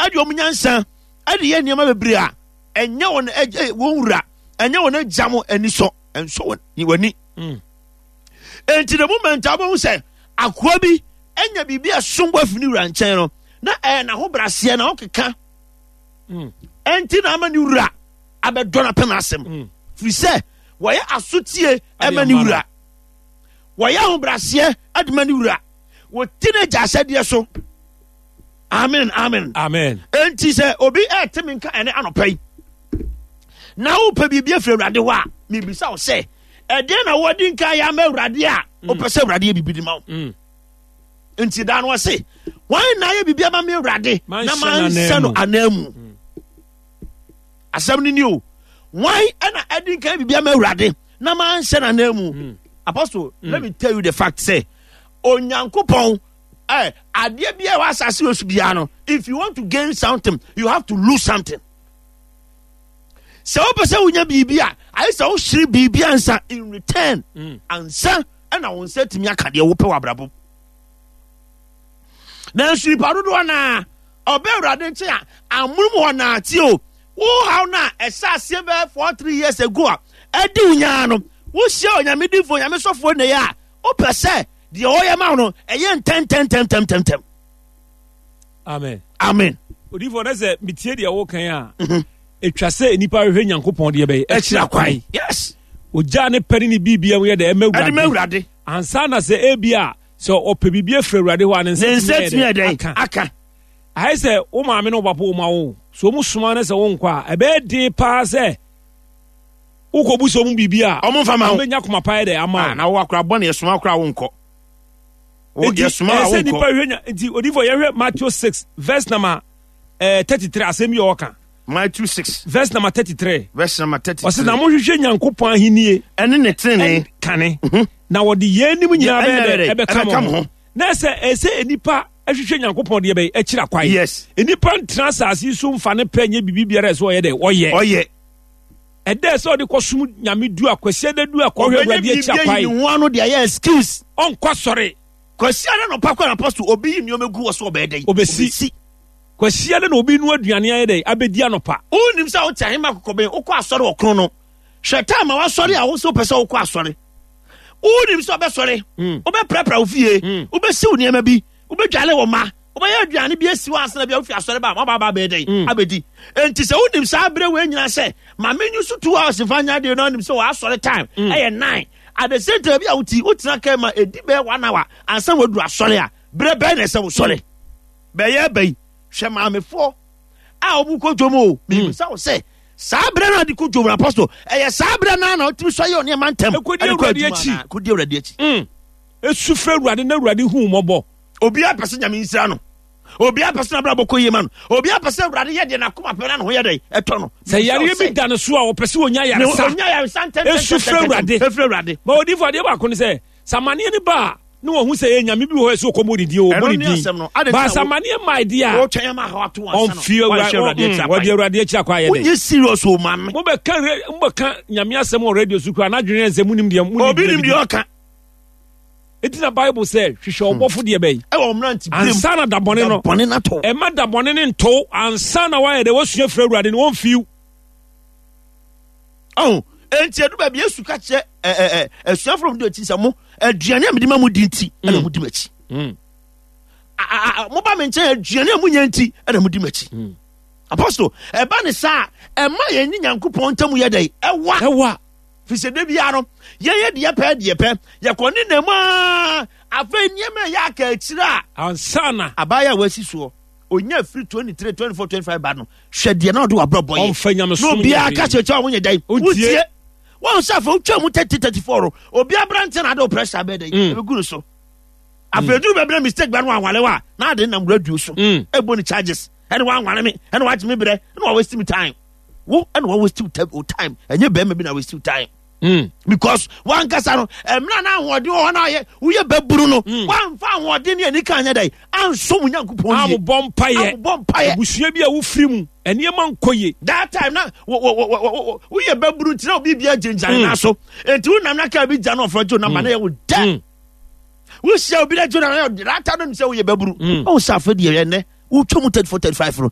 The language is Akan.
Ɛde wɔn nyansa ɛde yɛ nneɛma bebree a ɛnyɛ wɔn agya wɔn wura, ɛnyɛ wɔn agya mo ani sɔ, ɛnsɔ wɔn wɔn ani. Enti the moment a wɔbɛhu sɛ akoa bi anya biribi a ɛsom bo afi ne wura nkyɛn no, na ɛyɛ n'ahobraseɛ na ɔkeka. Ɛnti na ama ne wura abɛdɔ no apɛ n'asɛm. Firi sɛ wɔyɛ asotie ɛma ne wura, wɔyɛ ahobraseɛ ɛde ma ne wura, wɔti n'agya ahyɛdeɛ so. Amen, amen, amen. Enti sɛ obi ɛte me nka ɛne anɔpa yi na wopɛ biribi afiri Awurade hɔ a, mebisa wo sɛ, ɛdeɛn na wɔde nka yɛ ama Awurade a wopɛ sɛ Awurade yɛ biribi de ma wo? Nti daa no ɔse, wɔn na ayɛ biribi ama me Awurade na manhyɛ no ananmu? Asɛm no ni o, wɔn na ɛde nka yɛ biribi ama Awurade na manhyɛ no ananmu? Apostle, let me tell you the fact sɛ Onyankopɔn adeɛ bi a ɛwɔ asase wɔ so biara no, if you want to gain something, you have to lose something. Sɛ wopɛ sɛ wonya biribi a, ayɛ sɛ wohyere biribi ansa in return ansa ɛna wo nsa tumi aka deɛ wopɛ wɔ abrabɔ. Nanso nipa dodoɔ naa ɔbɛ Awurade nkyɛn a, amonom hɔ naa tie o, wo haw no a ɛhyɛ aseɛ bɛyɛ 4-3 years ago a ɛdi wo nyaa no, wohyia Onyame difoɔ, Onyame sɔfoɔ nnɛ yi a, wopɛ sɛ deɛ ɔyɛ ma wo no ɛyɛ ntɛntɛntɛntɛntɛm. Amen. Amen. Odiyifoɔ, na sɛ metie deɛ wokan a, ɛtwa sɛ nnipa hwehwɛ Nyankopɔn deɛ bɛyɛ akyira kwan. Yes. Ogyaa ne pɛ ne ne biribia mu yɛ dɛ ɛma Ɛde ma Awurade. Ansa na sɛ ebi a sɛ ɔpɛ biribi afiri Awurade hɔ a, ne Ne nsa nsa tumi tumi yɛ yɛ dɛ dɛn? aka. Aka. Ayɛ sɛ wo maame ne wo papa wo ma wo so ɔmu soma ne sɛ wonkɔ a, ɛbɛyɛ den paa sɛ wokɔbu sɛ ɔmu biribi a ɔmo mfa ma wo. Ɔmbɛnya koma pa yɛ dɛ ama Ah, wo. na wo akora bɔne yɛsoma akora wo nkɔ. Nti Yɛsoma a ɛsɛ wo nipa nkɔ. hwɛ nya. Nti odiyifoɔ, yɛhwɛ Matthew 6 verse number 33, asɛm bi a ɔka. Matthew 6 verse number 33. Verse number 33. Ɔsɛ na mohwehwɛ Nyankopɔn ahennie ɛne ne tenene kane, na wɔde yɛn anim nyinaa ɛnna bɛyɛ dɛ dɛ, ɛbɛka ɛbɛka mo mo ho. ho. Na ɛsɛ nipa ɛhwehwɛ Nyankopɔn deɛ bɛyɛ akyira kwan. Nipa ntena asase yi so mfa ne pɛ nyɛ biribi biara ɛsɛ ɔyɛ dɛ ɔyɛ. Ɔyɛ. Ɛdɛ sɛ ɔde kɔsom Nyame du a, Kwasi ada du a, kɔhwɛ Ɔbɛnya Awurade biribi akyira ayi kwan. ne ho ano de ayɛ excuse. Ɔnkɔ sɔre. Kwasi ada nɔpa kɔ na apostle obi yi nneɛma gu wɔ so, ɔbɛyɛ dɛ? Obɛsi. Kwasi ada na obi nu aduane ayɛ dɛ abɛdi anɔpa. Wonim sɛ wote ahema kɔkɔbɛn wokɔ asɔre wɔ krono no, hwɛ time a wasɔre a wo sɛ wopɛ sɛ wokɔ asɔre. Wonim sɛ wobɛsɔre, wobɛprapra wo fie, wobɛsiw nneɛma bi, wobɛdwale wo ma, wobɛyɛ aduane bi asi hɔ asena bi a wofi asɔre ba a moaba aba abɛyɛ dɛn? Abɛdi. Enti sɛ wonim saa berɛ wei nyinaa sɛ ma menyu so 2 hours mfa nyɛ adeɛ no, wonim sɛ wɔasɔre time ɛyɛ 9, at the same time bi a woti wotena kaa ma ɛdi bɛyɛ 1 hour ansa woaduru asɔre a, berɛ bɛn na ɛsɛ wosɔre? Bɛyɛ bɛyi hwɛ maamefoɔ a wɔn kɔ dwom o, mebisa wo sɛ saa berɛ no a de kɔ dwom no, apostle, ɛyɛ saa berɛ no a na wotumi sɔ yɛ nneɛma ntɛm Ɛkɔdi ɛde kɔ Awurade adwuma akyi. anaa? Kɔdi Awurade akyi. Esu frɛ Awurade na Awurade hu mmɔbɔ. Obiara pɛ sɛ Nyame nsira no, obiara pɛ sɛ n'abrabɔ kɔ yie ma no, obiara pɛ sɛ Awurade yɛ deɛ n'akoma pɛ na ne ho yɛ dɛn ɛtɔ no. Sɛ yareɛ bi da ne so a, ɔpɛ sɛ ɔnya yaresa. Ɔnya yaresa ntɛm. Esu frɛ Awurade. Efrɛ Awurade. Ma odiifo, adeɛ baako ne sɛ sɛ amanneɛ ne ba a, ne wɔn ho sɛ ɛyɛ Nyame bi wɔ hɔ ɛsɛ ɔkɔmmɔ ne din o, ɔbɔ Ɛno ne ne din. asɛm no. Ade Ba nti sɛ na amanneɛ mmaa deɛ a, wɔtwɛn ama haw ato ansa na ɔmfi wanhyɛ Awurade akyi akwan. wɔde Awurade akyi akɔ ayɛ dɛ. Wonyɛ serious o, maame. Mobɛka Nyame asɛm wɔ radio so koraa n'adwene yɛ sɛ munim deɛ munim. Obi nim deɛ ɔka. Enti na Bible sɛ hwehwɛ ɔbɔfo deɛ bɛyi ɛwɔ mmerante birim ansa na dabɔne no bɔne no atɔ. Ɛma dabɔne ne ntow ansa na wayɛ dɛ wasua firi Awurade no wɔmfiw. Ɔho enti edu baabi Yesu ka kyerɛ ɛ ɛ ɛ asuafo no de akyi sɛ mo aduane a mede ma mo di nti ɛna mo di m'akyi. Moba me nkyɛn aduane a monya nti ɛna mo di m'akyi. Apostle, ɛba ne saa ɛma yɛn ne Nyankopɔn ntam yɛ dɛn? Ɛwa. Ɛwa. Fi sɛ da biara no yɛyɛ deɛ pɛ deɛ pɛ yɛkɔ ne nam a, afei nneɛma a ɛyɛ aka akyire a ansa na abaayɛ a wasi soɔ onya firi 23, 24, 25 ba no, hwɛ deɛ na ɔde wabrɔbɔ yɛ. Ɔmfa na nyamesom obiara nyɛ ka hwee. kyerɛkyerɛ a wonyɛ dɛn? Wontie. Wotie wɔn sɛ afei wotwa mu 30, 34 no, obi aberante na ade wo pressure bɛɛ dɛn ɛbɛgu no so. Afei duru baabi na mistake ba no wanwale wa na ade nam radio so ɛbɔ ne charges ɛne wanwale me ɛne wagye me berɛ ɛne wa waste me time. Wo ɛne wa waste wo time, ɛnyɛ bɛrima bi na waste wo time. Because wankasa no mmerɛ na ahoɔden wɔ hɔ na ayɛ woyɛ bɛburu no, wamfa ahoɔden ne anika anyɛ dɛn ansom Nyankopɔn yie. Amobɔ mpayɛ. Amobɔ mpayɛ. Abusua bi a wofiri mu nneɛma nkɔ yie. That time na woyɛ bɛburu nti na obi bia gyinagyina ne nan so, enti wonam na kaa bi gya no ɔfrɛ gye wo namba na yɛ wo dɛ. Wohyia obi na gye wo namba na yɛ wo dɛ. That time no nim sɛ woyɛ bɛburu. Ɔhu sɛ afei deɛ ɛnɛ wotwa mu 34, 35 no.